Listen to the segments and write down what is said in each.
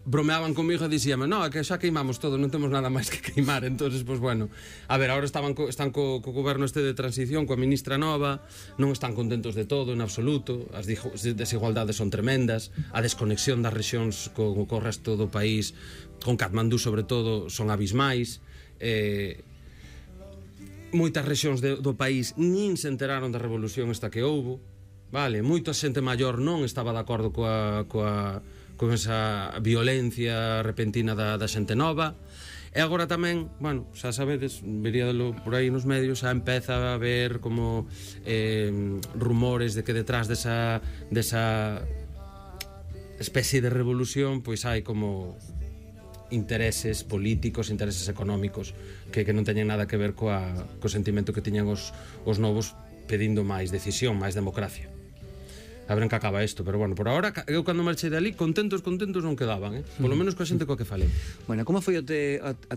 bromeaban comigo e dixíame, no, é que xa queimamos todo, non temos nada máis que queimar. Entonces, pois bueno, a ver, agora están co goberno este de transición, coa ministra nova, non están contentos de todo en absoluto, as desigualdades son tremendas, a desconexión das rexións co resto do país, con Katmandú sobre todo, son abismais. Moitas rexións do país nin se enteraron da revolución esta que houbo, vale, moita xente maior non estaba de acordo con esa violencia repentina da xente nova. E agora tamén, bueno, xa sabedes, veríadelo por aí nos medios, xa empeza a haber como rumores de que detrás desa especie de revolución pois hai como intereses políticos, intereses económicos que non teñen nada que ver co sentimento que tiñan os novos pedindo máis decisión, máis democracia. A ver en que acaba isto, pero bueno, por ahora eu cando marchei dali contentos non quedaban, polo menos coa xente coa que falei. Bueno, como foi a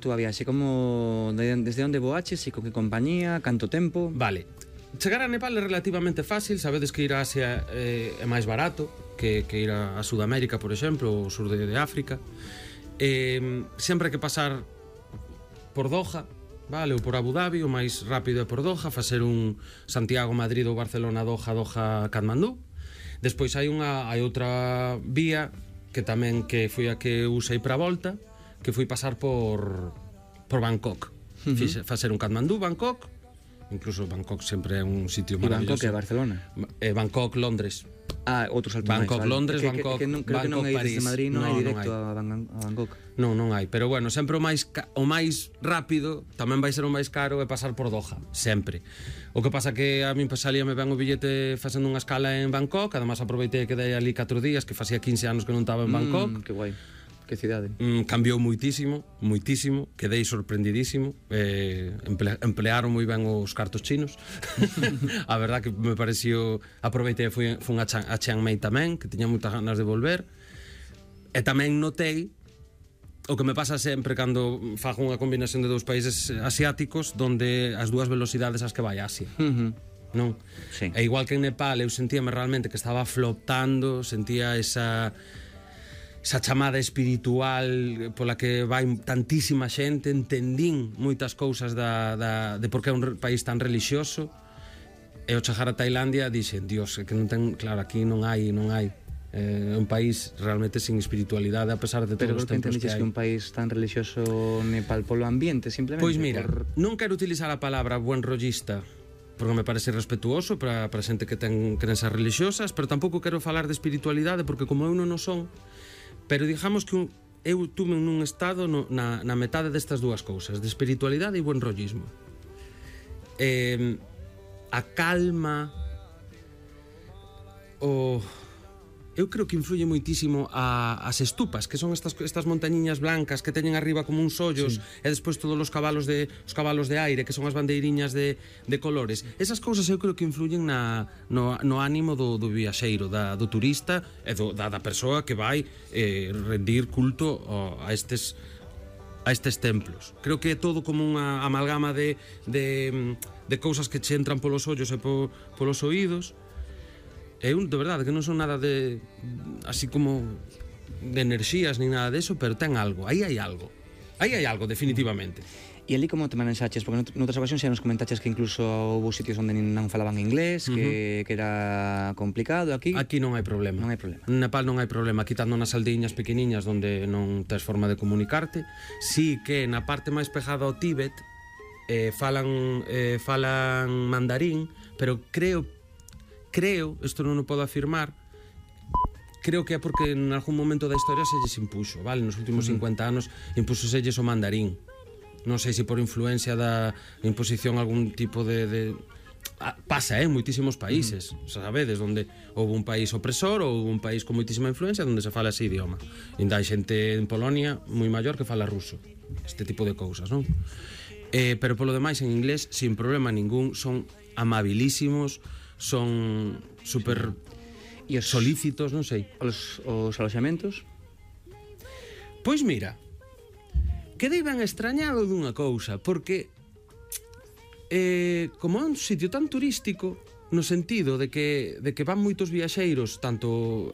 túa viaxe? Desde onde voaches e con que compañía, canto tempo? Vale, chegar a Nepal é relativamente fácil, sabedes que ir a Asia é máis barato que ir a Sudamérica, por exemplo, ou sur de África. Sempre hai que pasar por Doha, vale, ou por Abu Dhabi, o máis rápido é por Doha, facer un Santiago-Madrid ou Barcelona-Doha, Doha-Katmandú. Despois hai outra vía que tamén que foi a que usei para a volta, que foi pasar por Bangkok. Facer un Katmandú, Bangkok, incluso Bangkok sempre é un sitio maravilloso. E Bangkok é Barcelona? Bangkok, Londres. Outro salto máis, Bangkok, vale. Londres, Bangkok, creo que non hai desde Madrid, non hai directo a Bangkok. Non hai, pero bueno, sempre o máis rápido, tamén vai ser o máis caro, é pasar por Doha, sempre. O que pasa que a min salíame ben o billete facendo unha escala en Bangkok, además aproveitei que quedei ali 4 días, que facía 15 anos que non estaba en Bangkok. Que guai. Que cidade. Cambiou moitísimo, quedei sorprendidísimo. Emplearon moi ben os cartos chinos. A verdad que me pareció, aproveitei e fun a Chiang Mai tamén, que tiña moitas ganas de volver. E tamén notei o que me pasa sempre cando fago unha combinación de dous países asiáticos, donde as dúas velocidades as que vai a Asia. Non? Sí. E igual que en Nepal eu sentíame realmente que estaba flotando, sentía esa chamada espiritual pola que vai tantísima xente, entendín moitas cousas de por que é un país tan relixioso. E ao chegar a Tailandia dixen, Dios, que non ten, claro, aquí non hai é un país realmente sin espiritualidade a pesar de todos os templos que hai. Pero que un país tan relixioso Nepal polo ambiente, simplemente? Pois mira, non quero utilizar a palabra buen rollista porque me parece respetuoso para xente que ten crenzas religiosas, pero tampouco quero falar de espiritualidade porque como eu non o son. Pero digamos que eu tuve nun estado na metade destas dúas cousas, de espiritualidade e buen rollismo. A calma, eu creo que influye moitísimo as estupas, que son estas montañiñas blancas que teñen arriba como uns ollos, sí. E despois todos os cabalos de aire, que son as bandeiriñas de colores. Esas cousas eu creo que influyen no ánimo do viaxeiro, do turista e da persoa que vai rendir culto a estes templos. Creo que é todo como unha amalgama de cousas que che entran polos ollos e polos oídos. Eu, de verdade, que non son nada de así como de enerxías ni nada deso, pero ten algo, aí hai algo, definitivamente. E ali como te manejaches? Porque noutras ocasións xa nos comentaches que incluso houve sitios onde non falaban inglés, que era complicado. Aquí non hai problema. Non hai problema. En Nepal non hai problema, quitando nas aldeíñas pequeniñas onde non tes forma de comunicarte. Sí que na parte máis pegada ao Tíbet falan mandarín, pero creo, isto non o podo afirmar, creo que é porque en algún momento da historia se lles impuxo, vale? Nos últimos 50 anos impúxoselles o mandarín. Non sei se por influencia da imposición algún tipo de pasa en moitísimos países, sabedes, onde houve un país opresor ou un país con moitísima influencia onde se fala ese idioma. Ainda hai xente en Polonia moi maior que fala ruso. Este tipo de cousas, non? Pero polo demais en inglés sin problema ningún, son amabilísimos, son super solícitos, non sei. Os aloxamentos? Pois mira, quedei ben extrañado dunha cousa, porque como é un sitio tan turístico, no sentido de que van moitos viaxeiros, tanto